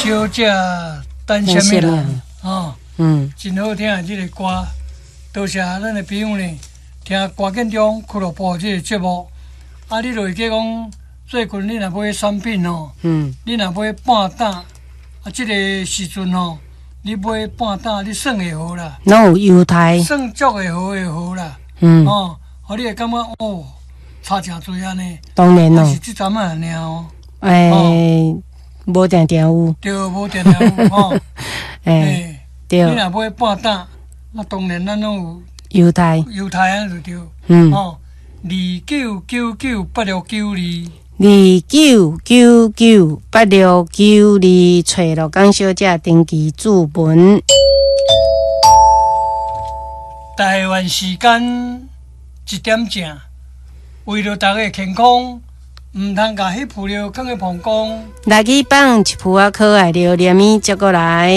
小姐等啥物人？哦，真好聽的這个歌，多謝咱的朋友呢，聽歌建中俱樂部這个節目。啊，你就會記講，最近你若買產品吼，你若買半膽，啊，這个時陣吼，你買半膽，你算會好啦，攏有優待，算足會好會好啦，哦，予你會感覺哦，差誠濟按呢。當然咯，是這陣仔爾哦。欸，無定定有。對，無定定有吼。欸，對。你若買半擔，那當然咱攏有優待，優待按呢就對。哦，29998692。29998692，揣鹿港小姐登記注文。台灣時間1點正，為著大家健康，毋通共彼浮料囥佇膀胱。來去放一浮仔可愛榴蓮，接過來。